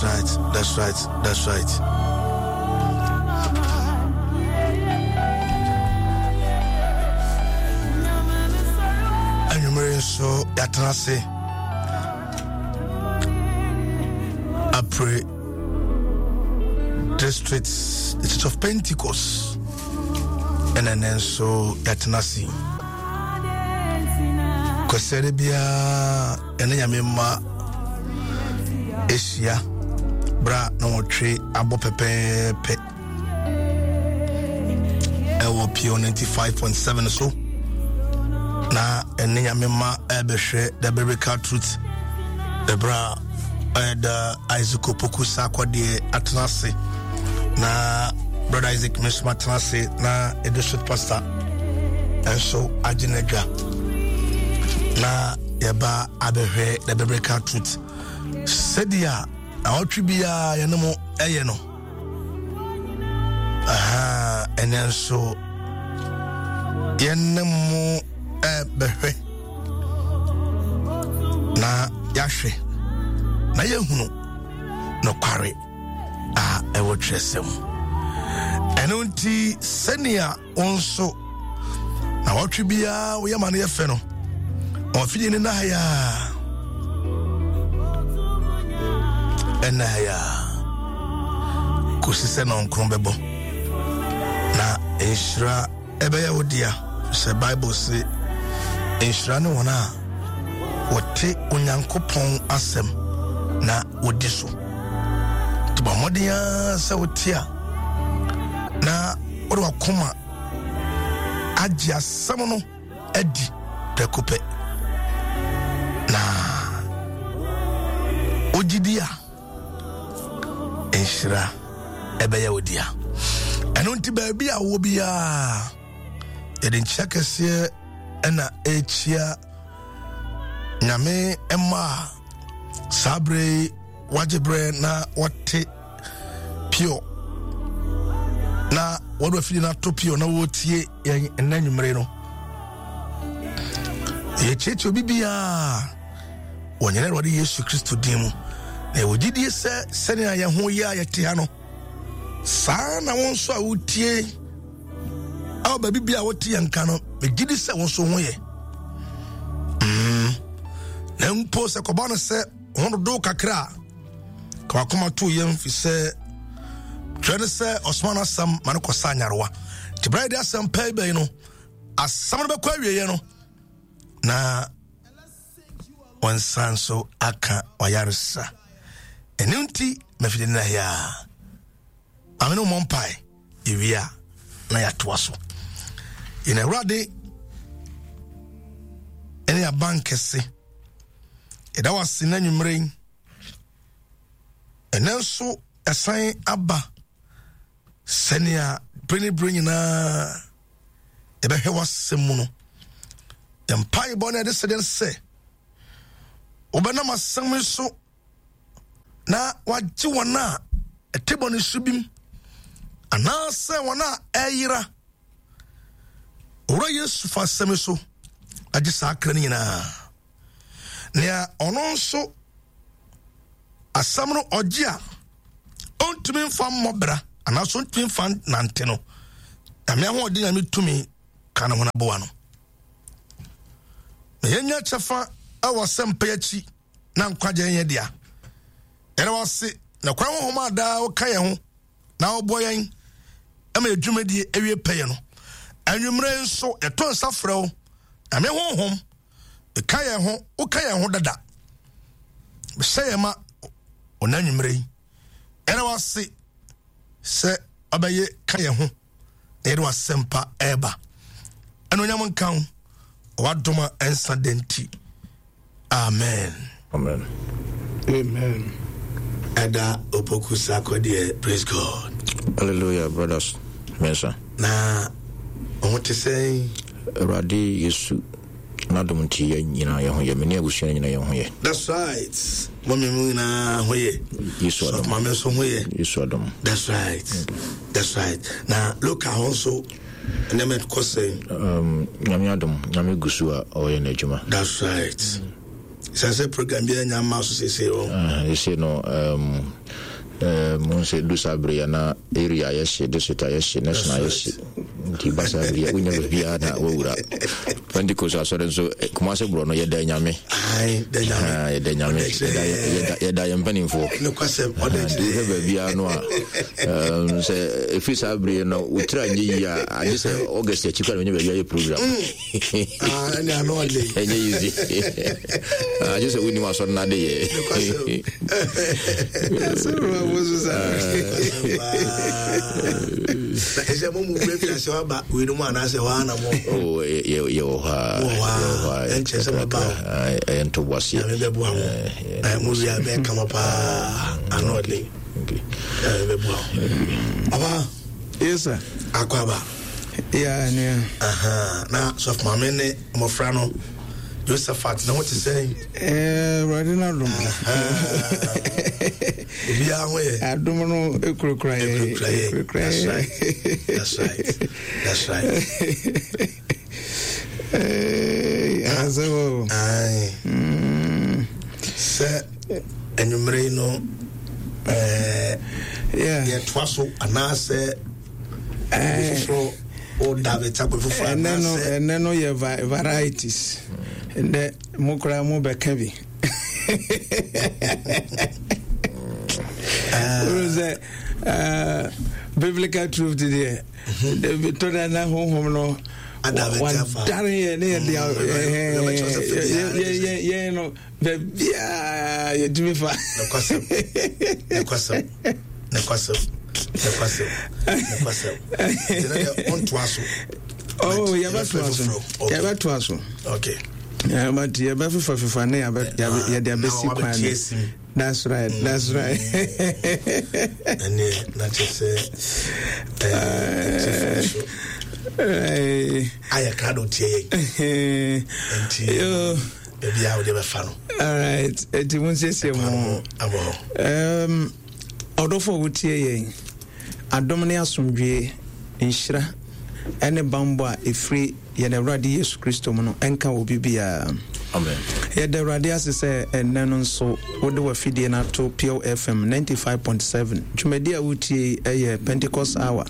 right. That's right. That's right. Anwummere nso yɛatena ase apre district the Church of Pentecost ɛna ɛnɛ nso yɛatena ase kwasɛre biara ɛne nyame mma ahyia berɛ a na wɔtwe abɔ pɛpɛɛpɛ ɛwɔ pure 95.7 so na ɛne nyame mma ɛbɛhwɛ the biblical truth ɛberɛ a ɛda isaac opoku sakwadeɛ atena ase na brother isaac mesoma atena ase na district pastor nso agye n'adwa na yɛba abɛhwɛ the biblical truth sɛdeɛ awɔtwe biara yɛne mo ɛyɛ no aha ɛnɛ nso yɛne mo ɛbɛhwɛ na yɛahwɛ na yɛhunu nokware a ɛwɔ twerɛsɛm ɛno nti sɛnea wo nso na wɔtwe biara woyɛ ma no yɛ fɛ no ɔfidie no na ya ɛna ya kɔsi sɛ nɔnkron bɛbɔ na nhyira ɛbɛyɛ wo dea sɛ bible se nhyira ne wɔn a wɔte onyankopɔn asɛm na wɔdi so nti bɔ mmɔden ara sɛ wote a na wode wakoma agye asɛm no adi prɛko pɛ na wogye di a nhyira ɛbɛyɛ wo dea ɛno nti baabi a wɔ biara yɛde nkyia kɛseɛ ɛna ɛkyia nyame mma a saa berɛ yi wagye berɛ na wɔte pure na wɔde afidie no ato pure na wɔretie yɛn ɛnna anwummere no yɛkyerɛkyerɛ obi biara wɔ nyɛ awurade yesu kristo din mu na yɛwɔ gyidie sɛ sɛnea yɛn ho yɛ a yɛte ha no saa na wo nso a wotie ɛwɔ baabi bi a wote yɛn nka no megye di sɛ wo nso ho yɛ mm. Na mpo sɛ kɔba no sɛ ho dodow kakra a ka wakoma to yɛn fi sɛ twerɛ no sɛ ɔsoma no asɛm ma no kɔsa anyarewa nti berɛ yɛde asɛm pɛi bɛyi no asɛm no bɛkɔ awieɛ no na wɔnsan nso aka ɔyaresa ɛno nti mafidi no yɛ a maame no mmɔ mpae yɛwie a na yɛatoa so yɛn awurade ɛne aban kɛse yɛda wo ase na anwummerɛ yi ɛnɛ nso ɛsan aba sɛnea bere ne bere nyinaa yɛbɛhwɛ w'asɛm mu no mpaebɔ no ɛde sɛdeɛ sɛ wobɛnam asɛm yi so na wagye wɔn a ɛte bɔne so bi mu anaasɛ wɔn a ɛyera owura yesu fa asɛm so agye saa akra no nyinaa nea ɔno nso asɛm no ɔgye a ɔntumi mfa mmɔ bra anaasɛ ɔntumi mfa nante no nyame ahoɔden nyame tumi ka ne ho no aboa no na yɛnya kyɛfa wɔ asɛmpa akyi na nkwagye nyɛ dea. Yɛda wo ase na kwan honhom a daa woka yɛn ho na wobɔ yɛn ma yɛ dwumadie awie pɛyɛ no. Anwummerɛ nso yɛto nsa frɛ wo Nyame honhom ka yɛn ho woka yɛn ho dada hyɛ yɛn ma ɔna anwummerɛ yi. Yɛda wo ase sɛ ɔbɛyɛ ka yɛn ho na yɛde w'asɛmpa ɛreba ɛno nyam nka wo wadom a ɛnsa da nti amen amen amen ɛda opoku sakɔ deɛ praise god hallelujah brothers mensah na ɔho te sɛn awurade yesu n'adom nti yɛn nyinaa yɛn ho yɛ me ne abusua no nyinaa yɛn ho yɛ. That's right. Mɔmi mu nyinaa ho yɛ. Yesu adom. Maame nso ho yɛ. Yesu adom. That's right. That's right. Na loka ho nso nneɛma kɔ sɛn. Um, nyame adom, nyame gu so a ɔyɛ n'adwuma. That's right. Sɛ sɛ program biara nya mma so seesei o. Seesei no um, um, sɛ du saa bere yɛ na area ayɛ hye, district ayɛ hye, national ayɛ hye. Nti ba saa bere yɛ wonya baabiara na wawura. Pentecost asɔre nso eh, Kumase borɔ no yɛda nyame. Yɛda nyame. Yɛda yɛn mpanimfoɔ. Nti wohwɛ baabiara no a um, sɛ ɛfiri saa bere no wotira nyɛ yie a agye sɛ August akyi kora na wonya baabi ayɛ program. Mm. Ah, ɛne ano ɔde. Ɛnyɛ easy. Ah, agye sɛ wonim asɔre no ade yɛ. Ɛsɛ mo mu wura fi ase waba wei no mu anaasɛ hɔ ana mo. Oh, yɛwɔ hɔ a. Wɔ hɔ a. Ɛnkyɛ sɛ mo ba o. Ɛyɛ ntoboaseɛ. Nyame bɛboa mo. Mo wia bɛyɛ kama paa ano ɔde. Nyame bɛboa mo. Papa. Yes sir. Akwaba. Yeah, nua. Aha, na sɔfo maame ne mmɔfra no Josephat na ho te sɛn? Eh, Awurade no adom. Obiara ho yɛ. Adom no ekurakura yɛ. Ekurakura yɛ. That's right. That's right. That's right. Eh, asɛm o. Aye. Mm. Sɛ anwummere yi no ɛɛ yɛtoa so anaasɛ foforɔ woda bɛta kwan foforɔ anaasɛ ɛnɛ no yɛ varieties ɛnɛ mo koraa mo bɛka bi wọ́n sɛ biblical truth deɛ tọ́ da na honhom no wadare yɛ ne yɛ de yɛn no baabiaa yɛtumi fa. Nokwasɛm nokwasɛm nokwasɛm nokwasɛm nokwasɛm nti na deɛ ɔntoa so. Oh, yɛbɛtoa so yɛbɛtoa so. Okay. Yeah, but yɛbɛfefa fefa ne yɛde abɛsi kwan no. That's right. That's right. Ɛne na kyerɛ sɛ ɛɛ so ayɛ krado tie yɛn. Nti baabi a wode bɛfa no. All right. Nti mo nsiesie mo. Abɔ hɔ. Ɔdɔfo a wotie yɛn, adom ne asomdwoe, nhyira ne bammɔ a ɛfiri yɛn Awurade Yesu Kristo mu no nka obi biara. Amen. Yɛda Awurade ase sɛ ɛnnɛ no nso wode w'afidie no ato Pure FM 95.7. Dwumadi a wotie yi yɛ Pentecost Hour.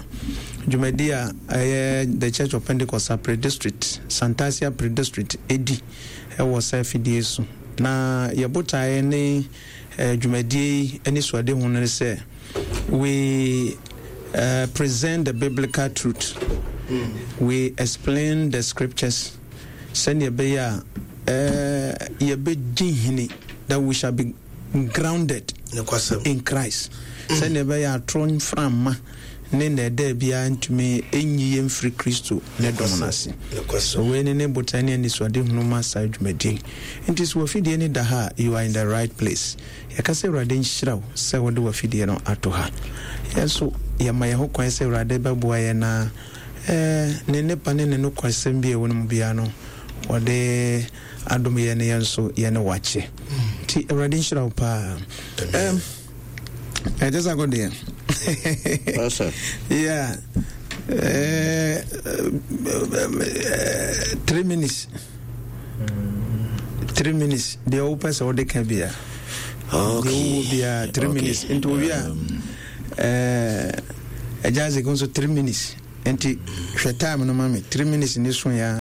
Dwumadi a ɛyɛ The Church of Pentecost Sapre District, Santasia Pre District ɛdi wɔ saa afidie so. Na yɛ botaeɛ ne dwumadie yi anisoadehu no ne sɛ we uh, present the biblical truth. Mm. We explain the scriptures. Sɛnea ɛbɛyɛ a eh, yɛbɛdi hene that we shall be grounded in Christ. Mm. Sɛnea ɛbɛyɛ atoro mframa ne nnɛɛdɛɛ biara ntumi nyi yɛn mfiri Kristo ne dɔm no ase. So wei ne ne botae ne anisoadehunu ma saa dwumadie yi. Nti sɛ w'afidie no da ha a, you are in the right place. Yɛka sɛ Awurade nhyira wo sɛ wode w'afidie no ato ha. Yɛn nso yɛma yɛn ho kwan sɛ Awurade bɛboa yɛn na eh, ne nnepa ne ne nokwasɛm bi a ɛwɔ no mu biara no, wɔde adom yɛn ne yɛn nso yɛne wakyɛ. Nti Awurade nhyira wo paa. Um, ɛkyɛ sɛ akɔ deɛ. Yeah. Uh, 3 minutes. 3 minutes deɛ wopɛ sɛ wode ka bia deɛ wowɔ biaa 3 minutes nti owie a ɛgya Isaac nso 3 minutes nti hwɛ time no ma me 3 minutes ne so ya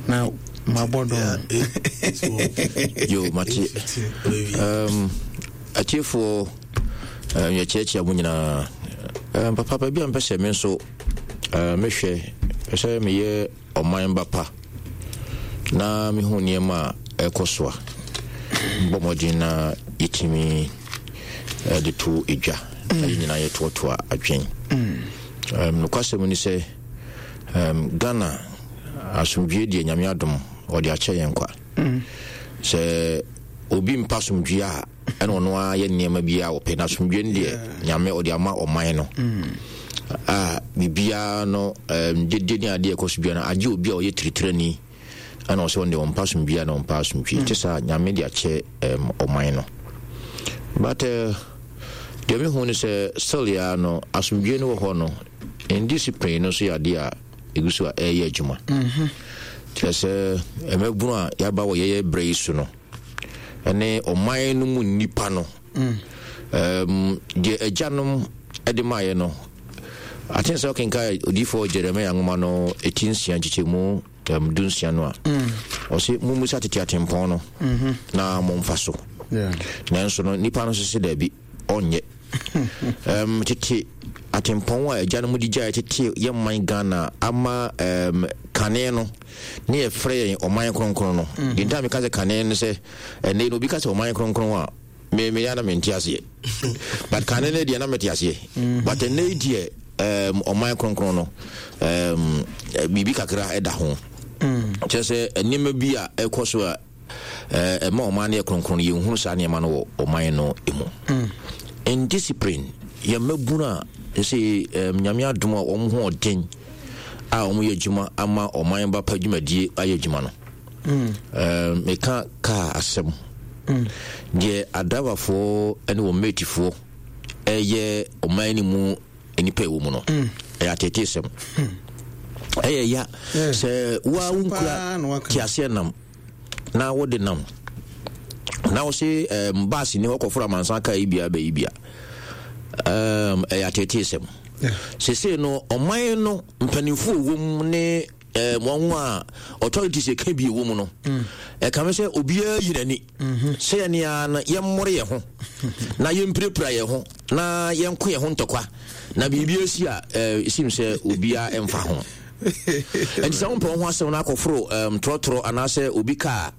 na mabɔ dɔn. Yo, mate. Atiefoɔ, yɛkyerɛkyerɛ mo nyinaa. Papa, baabi a mpɛ sɛ me nso mehwɛ pɛ sɛ meyɛ ɔman ba pa na mehu nneɛma a ɛkɔ so a mbɔ mmɔden na yɛtumi de to edwa na yɛn nyinaa yɛtoatoa adwen. Nokwasɛm ni sɛ Ghana asomdwie deɛ Nyame adom ɔde akyɛ yɛn kwa. Sɛ obi mpa asomdwie a ɛna ɔno ara yɛ nneɛma bi a ɔpɛ na asomdwie no deɛ Nyame ɔde ama ɔman no a biribiara no dede ne adeɛ ɛkɔ so biara no agye obi a ɔyɛ tiritirani ɛna ɔsɛ ɔno deɛ ɔmpa asomdwie a na ɔmpa asomdwie te saa Nyame de akyɛ ɔman no but deɛ mehu no sɛ still ya no asomdwie no wɔ hɔ no indiscipline no nso yɛ adeɛ a ɛgu so a ɛyɛ adwuma. Kyerɛ sɛ mmabunu a yɛaba wɔ yɛyɛ berɛ yi so no. ne ɔman no mu nnipa no. Um, deɛ agyanom de maayɛ no, aten sɛ ɔkenka odiyifoɔ Jeremia nwoma no ɛti nsia nkyekyɛmu um, dunsia no a, mm. ɔse mommisa tete atempɔn no mm-hmm. na momfa so. Nanso no, nnipa no nso se daabi, ɔnyɛ. um, tete atempɔn a agyanom de gyaeɛ tete yɛ man Ghana ama um, kane no ne yɛfrɛ yɛn ɔman kronkron no. Mm-hmm. Deɛ nti a meka sɛ kane no sɛ ɛnɛ no obi ka sɛ ɔman kronkron a me me ya na mente aseɛ but kane no deɛ na mete aseɛ mm-hmm. but ɛnɛ deɛ um, ɔman kronkron no um, biribi kakra ɛda ho mm. kyerɛ sɛ nneɛma bi a ɛkɔ so a ɛma ɔman no yɛ kronkron no yɛnhunu saa nneɛma no wɔ ɔman no mu mm. indiscipline yɛn mmabunu a sɛ nyame adom a wɔn ho ɔden a wɔyɛ adwuma ama ɔman ba pa dwumadie ayɛ adwuma no mm. meka kaa asɛm mm. deɛ adraivafoɔ ne wɔn matefoɔ ɛyɛ ɔman no mu nnipa ɛwɔ mu no mm. ɛyɛ ateetesɛm hmm. ɛyɛ ya sɛ woa wonkura teaseɛ nam na wode nam na wo se um, baase ni hɔ kɔforo amansan kaa yi bia bɛyi bia um, ɛyɛ ateetesɛm sesei no ɔman no mpanimfoɔ wɔ mu ne um, wɔn a authorities ɛka bi wɔ mu no mm. ɛkame sɛ obiara yi n'ani mm-hmm. sɛ yɛne ara no yɛmmɔre yɛn ho na yɛmpirapira yɛn ho na yɛnko yɛn ho ntɔkwa na biribi asi a ɛsim sɛ obiara ɛmfa ho ɛnti sɛ wompɛ wo ho asɛm no akɔforo um, trɔtrɔ anaasɛ obi kaa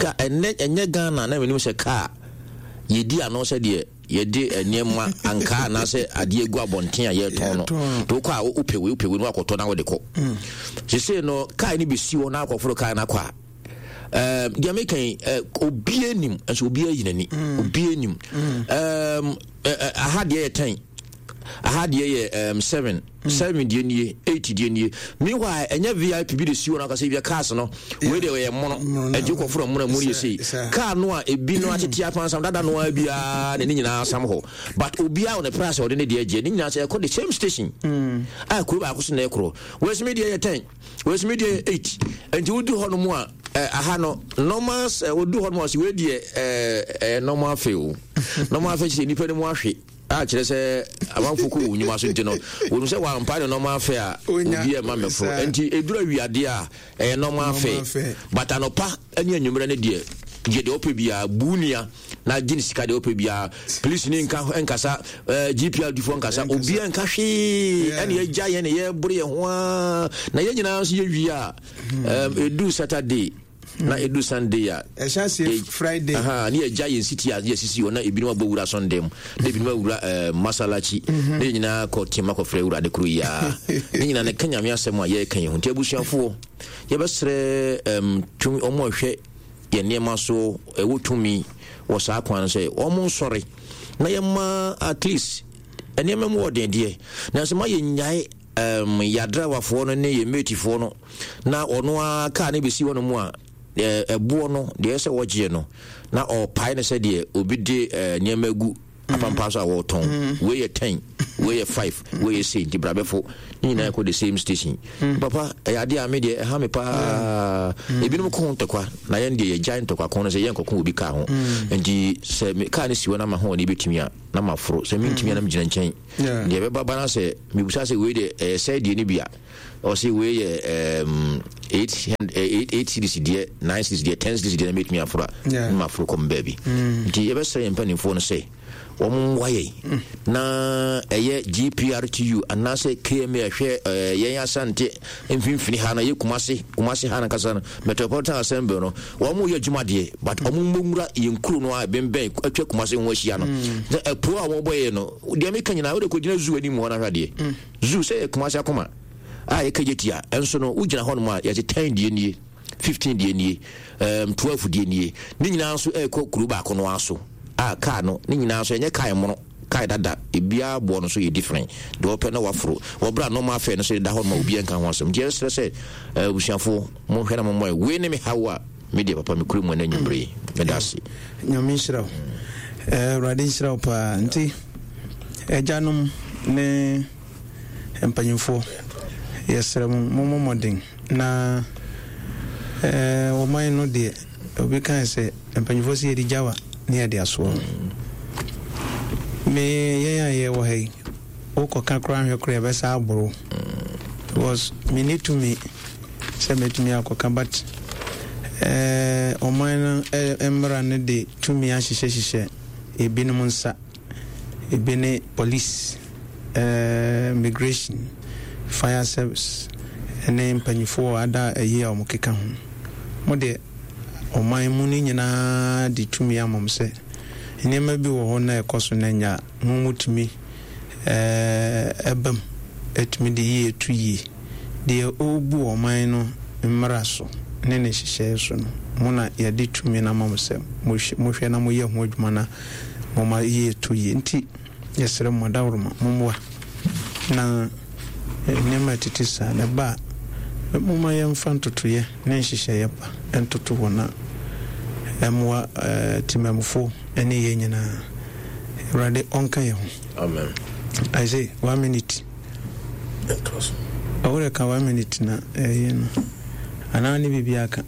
ka ɛnɛ ɛnyɛ Ghana na menim sɛ kaa yɛdi ano sɛ deɛ yɛde nneɛma ankaa anaasɛ adeɛ gu abɔnten a yɛtɔn no nti wokɔ a wopɛ wei wopɛ wei no wakɔtɔ na wode kɔ mm. sesei no kaa no bɛsi hɔ na akɔforo kaa no akɔ a deɛ meka yi obiara nim nso obiara yi n'ani mm. obiara nim mm. aha deɛ yɛ ten aha deɛ yɛ seven mm. seven deɛ nie eight deɛ nie meanwhile ɛnyɛ vip bi de si hɔ no akasɛ bia cars no wei deɛ ɔyɛ mono ɛnti wokɔforo mono mu no yɛ sei car no a ebi no atete apansam dada no ara biara na ne nyinaa sam hɔ but obiara wɔ ne price a ɔde ne deɛ gyeɛ ne nyinaa sɛ ɛkɔ the same station mm. a kuro baako so na ɛkorɔ wɔasimi deɛ yɛ ten wɔasimi deɛ yɛ eight ɛnti wodu hɔ no mu a eh, aha no normal sɛ wodu hɔ no mu a sɛ wei deɛ ɛɛ eh, normal fe o normal fe kyerɛ nipa no mu ahwe a kyerɛ sɛ amanfo kɔ wɔn nnwuma so nti no wɔn sɛ wɔampa ne nɔɔma afɛ a obi ɛma mɛfo nti eduru awiadeɛ a ɛyɛ nɔɔma afɛ but anɔpa ne anwummerɛ no deɛ gye deɛ ɔpɛ biara bu nua na gye ne sika deɛ ɔpɛ biara polisi ne nka nkasa ɛɛ eh, gpr difoɔ nkasa obiara nka hwee ɛna yɛgya yɛn na yɛboro yɛn ho aa na yɛn nyinaa nso yɛwie a ɛɛm edu saturday. na edu sunday a ɛhyɛ aseɛ friday aha ne yɛgya yɛn siti a yɛsisi hɔ na ebinom abɔ wura sunday mu na ebinom awura ɛɛ eh, masalachi mhm. na yɛn nyinaa kɔ tema kɔfrɛ awurade koro yi ara ne nyinaa ne ka nyame asɛm a yɛreka yɛn ho nti abusuafoɔ yɛbɛsrɛ ɛm tumi wɔn a ɛhwɛ yɛn nneɛma so ɛwɔ tumi wɔ saa kwan no sɛ wɔn nsɔre na yɛma at least nneɛma mu wɔ den deɛ nanso ma yɛnyae um, yɛadrawafoɔ no ne yɛ matefoɔ no na ɔno ara kaa no bɛsi hɔ no mu a ɛboɔ no deɛ ɛsɛ wɔgyeɛ no na ɔpae no sɛ deɛ obi de nneɛma agu apampa so a wɔretɔn mm. wei yɛ 10 wei yɛ 5 wei yɛ sei nti brabɛfo ne nyinaa kɔ the same station mm. papa ɛyɛ adeɛ a me deɛ ɛha me paa mm. ebinom ko ho ntɔkwa na yɛn deɛ yɛgyae ntɔkwa ko no sɛ yɛnkɔko obi kaa ho nti sɛ kaa no si hɔ no ama ho ɔne bɛtumi a na maforo sɛ mentumi a na megyina nkyɛn deɛ ɛbɛba ba no sɛ mebusa sɛ wei deɛ ɛyɛ sɛ deɛ no bi a ɔsɛ wei yɛ um, 8 cedis deɛ 9 cedis deɛ 10 cedis deɛ na mɛtumi aforo a na maforo kɔm baabi mm. nti yɛbɛsrɛ yɛn mpanimfoɔ no sɛ wɔn mmoa yɛn mm. na ɛyɛ gprtu anaasɛ kma ɛhwɛ eh, yɛn asante mfimfini ha no yɛ kumase kumase ha no kasa no metropolitan assembly no wɔn yɛ adwuma deɛ but wɔn mmɔ nwura yɛn kuro no a ɛbɛnbɛn atwa kumase ho ahyia no mm. na ɛpo a wɔbɔ yɛ no deɛ meka nyinaa wode kɔgyina zoo anim hɔ no ahwɛ adeɛ mm. zoo sɛ yɛ kumase akoma a yɛka gye tia ɛnso no wogyina hɔ nom a yɛte 10 deɛ nie 15 deɛ nie um, 12 deɛ nie ne nyinaa nso ɛrekɔ kuro baako no aso a kaa no ne nyinaa nso ɛnyɛ kaa ɛmono kaa dada ebiara boɔ no so yɛ different deɛ ɔpɛ na waforo wɔbrɛ a normal fare no so da hɔ no ma obiara nka ho asɛm nti yɛsrɛ sɛ eh, abusuafoɔ monhwɛ na mommɔ wei ne me haw a me deɛ papa mekura mu ɛna nwummere yi meda ase. Nyame nhyira wo. Eh, Awurade nhyira wo paa. Nti agyanom ne mpanyimfoɔ yɛsrɛ mo mommɔ mmɔden na eh, ɔman no deɛ obi kae sɛ. Mpanyinfoɔ sɛ yɛde gyawa ne yɛde asoɔ. Me yɛn a yɛwɔ ha yi, wokɔka koraa nhwɛ koraa yɛbɛsa aboro. Because menni tumi sɛ mɛtumi akɔka but eh, ɔman no eh, mmara no de tumi ahyehyɛhyehyɛ ebinom nsa. Ebi ne police, eh, immigration, fire service ne mpanyinfoɔ ada ayi a wɔkeka ho. Mo deɛ ɔman mu no nyinaa de tumi ama mo sɛ nneɛma bi wɔ hɔ na ɛkɔ so na ɛnyɛ a, mo motumi ɛba mu tumi de yie to yie. Deɛ ɔrebu ɔman no mmara so ne ne nhyehyɛeɛ so no, mo na yɛde tumi no ama mo sɛ mohwɛ na moyɛ ho adwuma na moma yie to yie. Nti yɛsrɛ mo adaworoma, mommoa na nneɛma a ɛtete saa no ɛba a, momma yɛmfa ntotoeɛ ne nhyehyɛeɛ pa ntoto hɔ na ɛmmoa temanmufoɔ ne yɛn nyinaa. Awurade ɔnka yɛn ho. Amen. I say one minute. Ɔwɔ ka one minute na ɛyɛ no. Anaa ne biribi aka.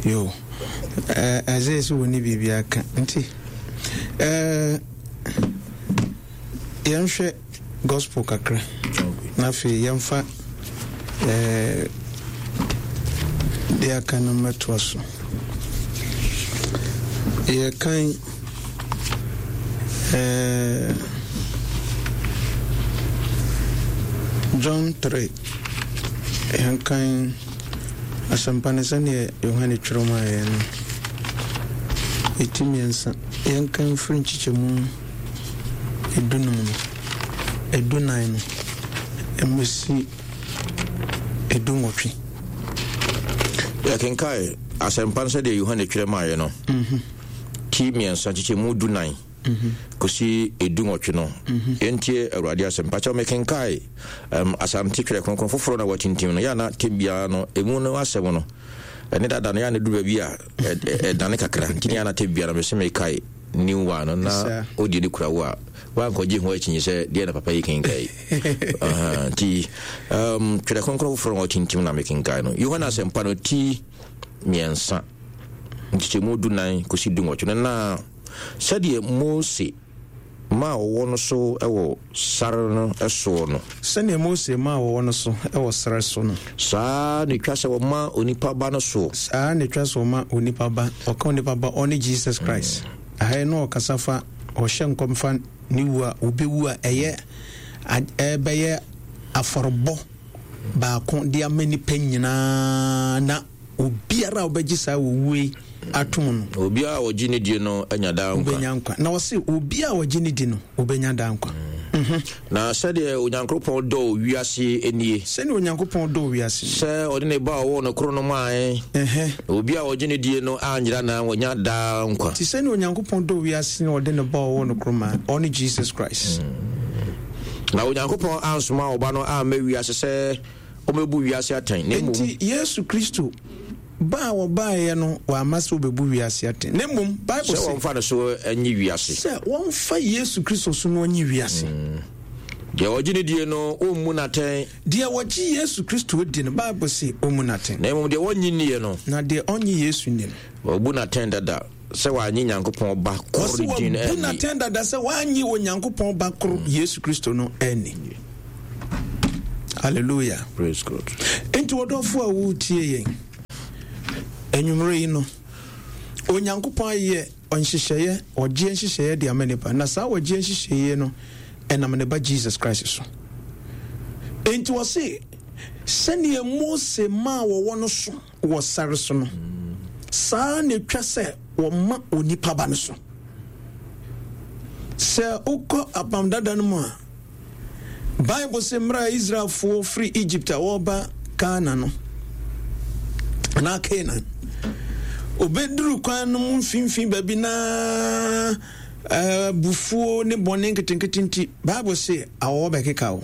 Yo. Isaiah sɛ wɔne biribi aka. Nti yɛnhwɛ gospel kakra. Na afei yɛmfa deɛ aka no mmɛtoa so. Yɛkan John 3. Yɛnkan asɛmpa no sɛdeɛ Yohane twerɛ maa yɛn no. Ɛti mmiɛnsa. Yɛnkan firi nkyekyɛmu edunum no, edunan no, mmɛsi edunwɔtwe. Yɛkenkae asɛmpa no sɛdeɛ Yohane twerɛ maeɛ no, ti mmiɛnsa nkyekyɛmu dunan kɔsi edunwɔtwe no. Yɛntie Awurade asɛm. Pakyɛw mekenkae um, Asante Twerɛ Kronkron foforɔ na wɔatintim no, yɛ ana tɛm biara no, ɛmu no asɛm no, ɛne dada no, yɛ ana duru baabi a ɛdane kakra, nti ne yɛ ana tɛm biara no, mese mekae new one no na ɔdi ne kura wo a wankɔgye ho akyinnye sɛ deɛ na papa yi kenkae nti um, twerɛ kronkron foforɔ na ɔtintim na mekenkae no Yohane asɛmpa no ti mmiɛnsa nkyekyɛmu dunan kɔsi dunwɔtwe no na sɛdeɛ Mose maa wɔwɔ no so wɔ sare no soɔ no. Sɛdeɛ Mose maa wɔwɔ no so wɔ serɛ so no. Saa ara na ɛtwa sɛ wɔma onipa Ba no soɔ. Saa ara na ɛtwa sɛ wɔma onipa Ba, ɔka onipa Ba, ɔne Jesus Christ. Aha yi na ɔkasa fa, ɔhyɛ nkɔm fa ne wu a ɔbɛwu a ɛyɛ, ɛbɛyɛ afɔrebɔ baako de ama nnipa nyinaa na Obiara a ɔbɛgye saa owuo yi atom no. Obiara a ɔgye ne die no anya daa nkwa. Ɔbɛnya nkwa. Na ɔse obiara a ɔgye ne di no, ɔbɛnya daa nkwa. Na sɛdeɛ Onyankopɔn dɔɔ wiase nie. Sɛdeɛ Onyankopɔn dɔɔ wiase nie. Sɛ ɔde ne ba a ɔwoo no koro no maae. Na obiara a ɔgye ne die no anyera na wanya daa nkwa. Te sɛdeɛ Onyankopɔn dɔɔ wiase na ɔde ne ba a ɔwoo no koro maae, ɔne Jesus Christ. Na Onyankopɔn ansoma ɔba no amma wiase sɛ. Ɔmmɛbu wiase atɛn, na mmom. Enti Yesu Kristo ba a ɔbaeɛ no, wamma sɛ ɔbɛbu wiase atɛn, na mmom Bible se. Sɛ wɔmfa ne so nyi wiase. Sɛ wɔmfa Yesu Kristo so na ɔnyi wiase. Deɛ ɔgye no die no, wɔmmu no atɛn. Deɛ ɔgye Yesu Kristo di no, Bible se, wɔmmu no atɛn. Na mmom deɛ ɔnnye nnie no. Na deɛ ɔnnye Yesu nni no. Wɔabu no atɛn dada. Sɛ wannye Nyankopɔn Ba koro no din anni. Ɔse wɔabu no atɛn dada sɛ wannye Onyankopɔn Ba koro, Yesu Kristo no anni. Hallelujah. Praise God. Enti ɔdɔfo a woretie yɛn anwummere yi no, Onyankopɔn ayɛ nhyehyɛeɛ, ɔgyeɛ nhyehyɛeɛ de ama nipa. Na saa ɔgyeɛ nhyehyɛeɛ no, ɛnam ne ba Jesus Christ so. Enti ɔse, sɛdeɛ Mose maa wɔwɔ no so wɔ sare so no, saa ara na ɛtwa sɛ wɔma onipa ba no so. Sɛ wokɔ Apam Dada no mu a, Bible sɛ mmerɛ a Israelfoɔ firi Egypt a wɔreba Ghana no, anaa Canaan, obɛduru kwan no mu mfimfini baabi na abufuo ne bɔne nketenkete nti, Bible se awɔwɔ bɛkeka wo.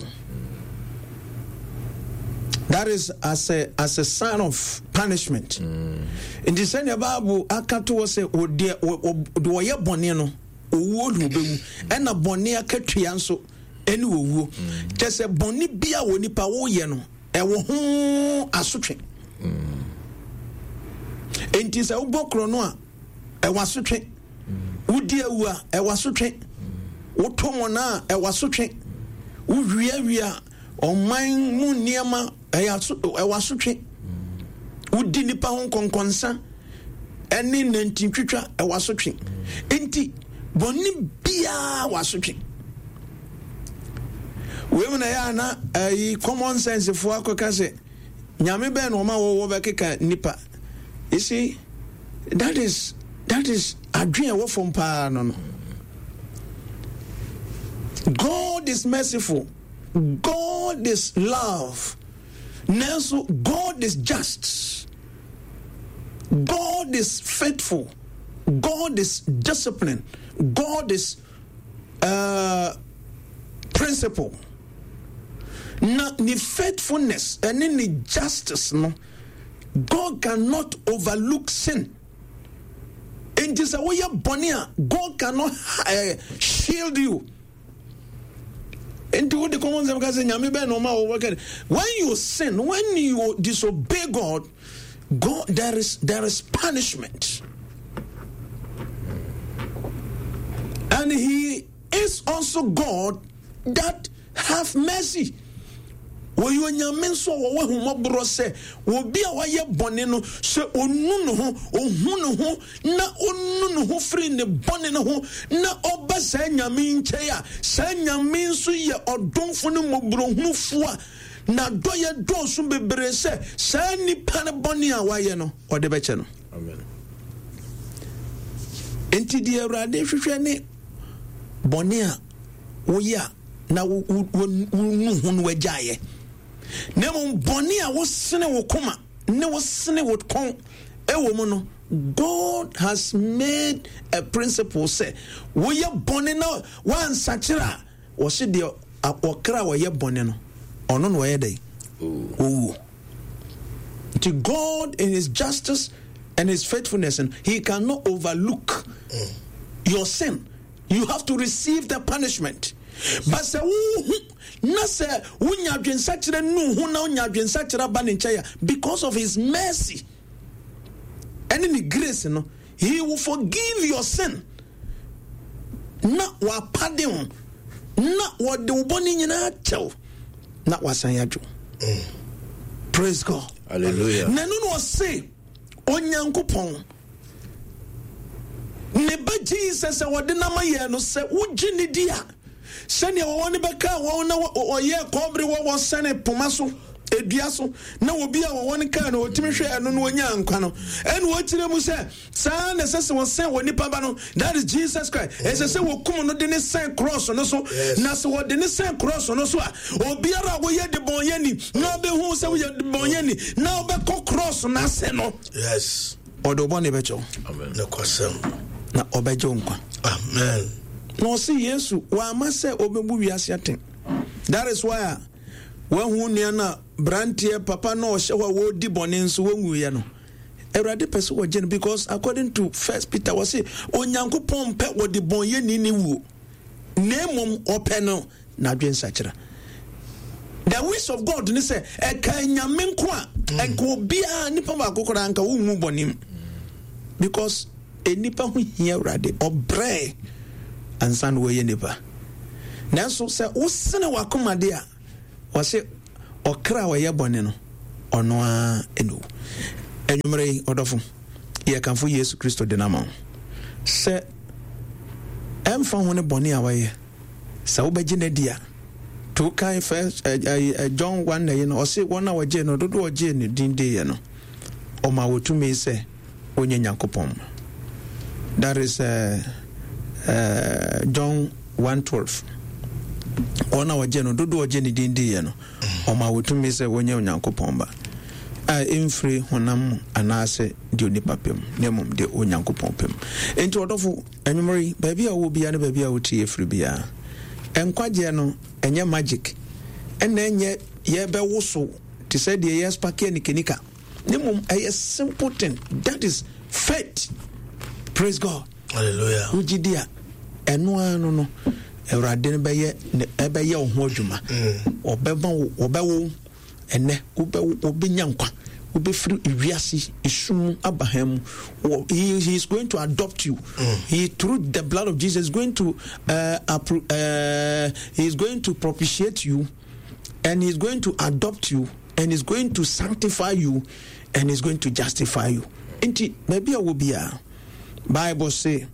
That is as a, as a sign of punishment. Nti sɛnea Bible aka to hɔ sɛ deɛ ɔyɛ bɔne no, owuo na ɔbɛwu. Ɛna bɔne akatua nso ɛne owuo. Kyɛ sɛ bɔne bi a wɔ nipa woyɛ no, ɛwɔ ho asotwe. Nti sɛ wobɔ korɔ no a, Ɛwɔ asotwe. Wodi awu a, ɛwɔ asotwe. Woto mɔna a, ɛwɔ asotwe. Wowiawia ɔman mu nneɛma, ɛyɛ aso, ɛwɔ asotwe. Wodi nipa ho nkɔnkɔnsa ɛne nantintwitwa, ɛwɔ asotwe. Nti bɔne biara wɔ asotwe. Wei mu na ɛyɛ ana ɛyi common sense foɔ akɔka sɛ nyame bɛn na ɔma wɔwɔ bɛkeka nipa. You see, that is that is adwene ɛwɔ fam paa no no. God is merciful. God is love. Nanso God is just. God is faithful. God is disciplined. God is uh, principle. Na ne faithfulness ɛne ne justice no God cannot overlook sin. Enti sɛ woyɛ bɔne a God cannot uh, shield you. Enti wode kɔmɔ nsɛm ka sɛ nyame bɛn na ɔma wɔbɛka when you sin when you disobey God God there is there is punishment. And he is also God that have mercy. Wɔyɛ Onyame nso a wɔwɔ ahummɔborɔ sɛ obi a wayɛ bɔne no, sɛ ɔnu ne ho, ɔhu ne ho, na ɔnu ne ho firi ne bɔne no ho, na ɔba saa Nyame yi nkyɛn a, saa Nyame nso yɛ ɔdomfo ne mmɔborɔhunufoɔ a n'adɔeɛ dɔɔso bebree sɛ saa nipa no bɔne a wayɛ no, ɔde bɛkyɛ no. Amen. Enti deɛ Awurade hwehwɛ ne bɔne a woyɛ a na wonu ho no wagyaeɛ, na mmom bɔne a wosene wo koma ne wosene wo kɔn ɛwɔ mu no, God has made a principle sɛ woyɛ bɔne na woansakyera a, wɔse deɛ ɔkra a ɔyɛ bɔne no, ɔno na ɔyɛ dɛn? Owuo. Nti God in his justice and his faithfulness, he cannot overlook your sin. You have to receive the punishment. But sɛ wohu na sɛ wonya adwensakyerɛ nu ho na wonya adwensakyerɛ ba ne nkyɛn a, because of his mercy ɛne ne grace no, he will forgive your sin na wapade ho na wɔde wo bɔne nyinaa kyɛw na wasan adwo. Mm. Praise God. Hallelujah. Na ɛno na ɔse Onyankopɔn Ne ba Jesus a wɔde no ama yɛn no, sɛ wogye ne di a, sɛnea wɔwɔ no bɛkaa wɔn na wɔyɛɛ kɔbere wɔ wɔn sɛne poma so edua so na obi a wɔwɔ no kaa no otumi hwɛɛ no na onyaa nkwa no, ɛna wɔkyerɛ mu sɛ saa na ɛsɛ sɛ wɔsɛn wɔ nipa ba no, that is Jesus Christ, ɛsɛ sɛ wɔkum no de ne sɛn cross no so. Na sɛ wɔde ne sɛn cross no so a, obiara a woyɛ debɔnyɛni na ɔbɛhu sɛ woyɛ debɔnyɛni na wobɛkɔ cross no ase no, Yes. Ɔde wo bɔne bɛkyɛ wo. Amen. Nokwasɛm. Na ɔbɛgye wo nkwa. Amen. Na ɔse Yesu wama sɛ ɔbɛbu wiase atɛn. That is why a wahu nua no a branteɛ papa na ɔhyɛ hɔ a wɔredi bɔne nso wɔnwuiɛ no. Awurade pɛ sɛ wɔgye no because according to First Peter wɔse Onyankopɔn mpɛ wɔde bɔnyɛni ne wuo na mmom ɔpɛ no n'adwensakyera. The wish of God ne sɛ ɛka nyame nko a ɛnka obiara nipa baako koraa nka wonwu bɔne mu because nipa ho hia Awurade ɔbrɛ ansa na wɔyɛ nipa. Nanso sɛ wosene wakoma de a wɔse ɔkra a ɔyɛ bɔne no ɔno ara ɛna owu. Anwummerɛ yi ɔdɔfo yɛkamfo Yesu Kristo de no ama wo sɛ ɛmfa ho ne bɔne a wayɛ Sɛ wobɛgye no adi a, to kan first eh, eh, eh, John 1 na yi no, ɔse wɔn a wɔgyee no, dodoɔ ɔgyee no din diiɛ no, ɔma wɔtumi sɛ wɔnyɛ Nyankopɔn mma. That is uh, uh, John 1:12. Wɔn a wɔgye no, dodoɔ ɔgye ne din diiɛ no, ɔma wɔtumi sɛ wɔnyɛ Onyankopɔn ba a ɛmfiri honam mu anaasɛ deɛ onipa pɛ mu, na mmom deɛ Onyankopɔn pɛ mu. Enti ɔdɔfo, Anwummere yi, baabi a wowɔ biara ne baabi a wotie firi biara, nkwagyeɛ no, ɛnyɛ magic, ɛna ɛnyɛ yɛbɛwoso te sɛ deɛ yɛspake anikanika, na mmom ɛyɛ simple thing, that is faith. Praise God. Hallelujah. Wogye di a, ɛno ara no no, Awurade no bɛyɛ ɛbɛyɛ wo ho adwuma. Ɔbɛma wo, ɔbɛwo ɛnɛ, wobɛwo, wobɛnya nkwa. Wobɛfiri wiase esum mu aba hann mu. He, he is going to adopt you. He, through the blood of Jesus, is going to, he is going to propitiate you, and he is going to adopt you, and he is going to sanctify you, and he is going to justify you. Nti, baabi a wɔ biara, Bible say,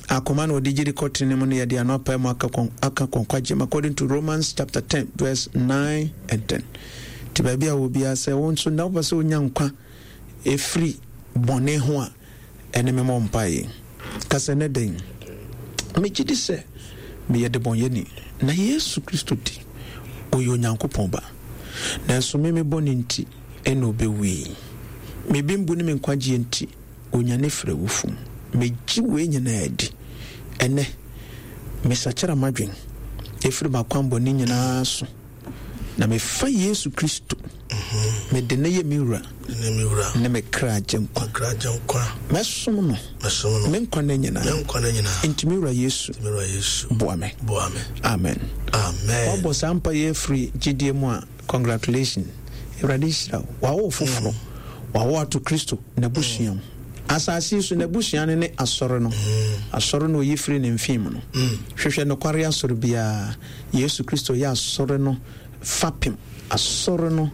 akoma na ɔde gyidi kɔ tene mu no yɛde ano apae mu aka kɔn aka kɔn kwagye mu according to Romans chapter 10 verse 9 and 10. Nti baabi a wɔ biara sɛ wo nso na wopɛ sɛ wonya nkwa ɛfiri bɔne ho a ɛne me mmɔ mpaeɛ. Ka sɛ ne den megye di sɛ meyɛ debɔnyɛni na Yesu Kristo di ɔyɛ Onyankopɔn ba nanso me me bɔne nti ɛna ɔbɛwui. Me bembu ne me nkwagyeɛ nti onyane firi awufo mu. Megye wei nyinaa di. Ɛnnɛ, mesakyera m'adwen firi m'akwammɔne nyinaa so, na mefa Yesu Kristo, mede no yɛ me wura ne me kra agyenkwa. Mɛsom no me nkwa nna nyinaa. Enti me wura Yesu, boa me. Amen. Wabɔ saa mpaeɛ afiri gyidie mu a, Congratulations. Awurade nhyira wo. Wawo wo foforɔ. Wawo ato Kristo n'abusua mu. Asase yi so n'abusua no ne asɔre no. Asɔre no oyi firi ne mfe mu no. Hwehwɛ nokware asɔre biara. Yesu Kristo yɛ asɔre no fapem. Asɔre no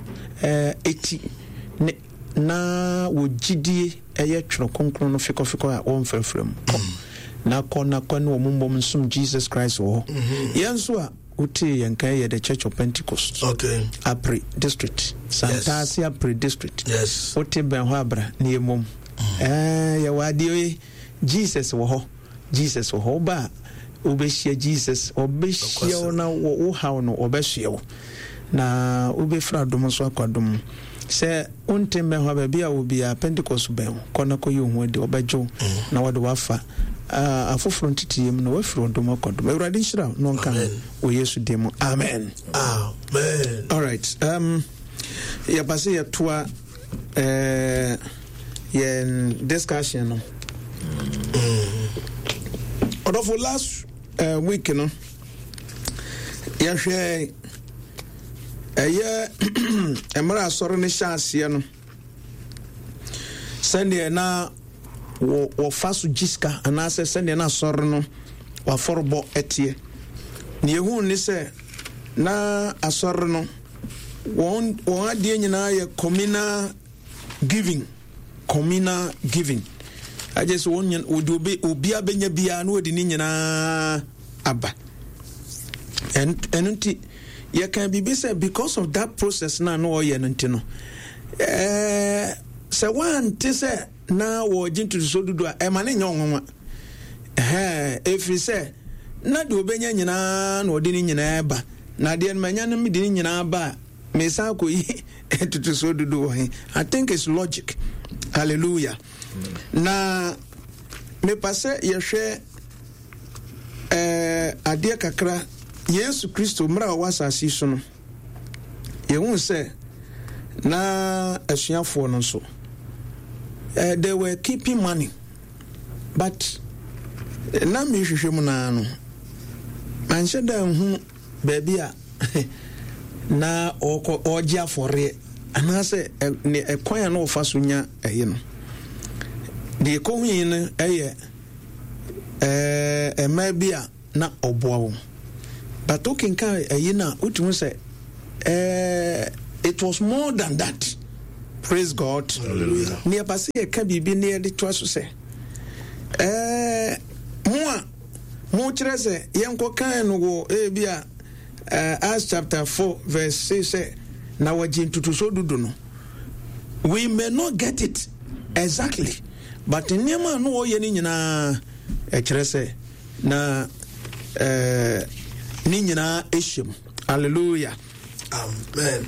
eti ne na wɔ gyidie ɛyɛ twerɛ kronkron no fekɔfekɔ a wɔmfrafra mu. Kɔ na kɔ na kɔ ne wɔn mmom nsom Jesus Christ wɔ hɔ. Yɛn nso a Wotee yɛn nka yɛ The Church of Pentecost. Okay. Apre District. Santase yes. Apre District. Yes. Wote bɛn hɔ abra ne yɛ mom. Ɛɛ yɛwɔ adeɛ yi Jesus wɔ hɔ. Jesus wɔ hɔ. Woba a wobɛhyia Jesus. Ɔbɛhyia wo na wo haw no ɔbɛsoɛ wo. Na wobɛfiri adom nso akɔ adom mu. Sɛ wonte mmɛn hɔ a baabi a wɔ biara Pentecost bɛn wo. Kɔ na kɔyi wo ho adi. Ɔbɛgye wo na wɔde wo afa afoforɔ nteteyɛ mu na woafiri ɔdom akɔ adom. Awurade nhyira wo na ɔnka ho wɔ Yesu din mu. Amen. Amen. All right. Yɛba sɛ yɛtoa yɛn discussion no. Ɔdɔfo last week no yɛhwɛ ɛyɛ mmerɛ asɔre no hyɛ aseɛ no sɛdeɛ na wɔfa so gye sika anaasɛ sɛdeɛ na asɔre no wafɔrebɔ ɛteɛ. Deɛ ɛhu ne sɛ na asɔre no wɔn wɔn adeɛ nyinaa yɛ communal giving, communal giving. Agye sɛ wɔn wɔde obi obiara bɛnya biara na wɔde ne nyinaa aba. Ɛno nti yɛka biribi sɛ because of that process na na ɔyɛ no nti no ɛɛ sɛ wɔante sɛ na wɔregye ntotosoɔ dudu a ɛma ne nyɛ ɔnwanwa ɛhɛn ɛfiri sɛ na deɛ ɔbɛnya nyinaa na ɔde ne nyinaa ba na deɛ no manya no mede ne nyinaa ba a mesan akɔyi ntotosoɔ dudu wɔ he. I think it's logic. Hallelujah. Na mepa sɛ yɛhwɛ eh, adeɛ kakra. Yesu Kristo mmerɛ a ɔwɔ asase so no, yɛhu sɛ na asuafoɔ no nso they were keeping money, but na mehwehwɛ mu naa no manhyɛ da nhu baabi a na ɔkɔ ɔgye afɔreɛ anaasɛ ne ɛkwan a na ɔfa so nya ɛyi no. Deɛ ɛkɔhui no ɛyɛ ɛɛ mmaa bi a na ɔboa wɔn, but wokenkan ɛyi no a wotumi sɛ ɛɛ it was more than that. Praise God. Ne yɛba sɛ yɛka biribi ne yɛde toa so sɛ ɛɛ mo a mokyerɛ sɛ yɛnkɔkan no wɔ ebi a Acts chapter 4 verse 6 sɛ na wɔgye ntotosoɔ dudu no, we may not get it exactly, but nneɛma a na wɔyɛ no nyinaa ɛkyerɛ sɛ na ne nyinaa ɛhyɛ mu. Hallelujah. Amen.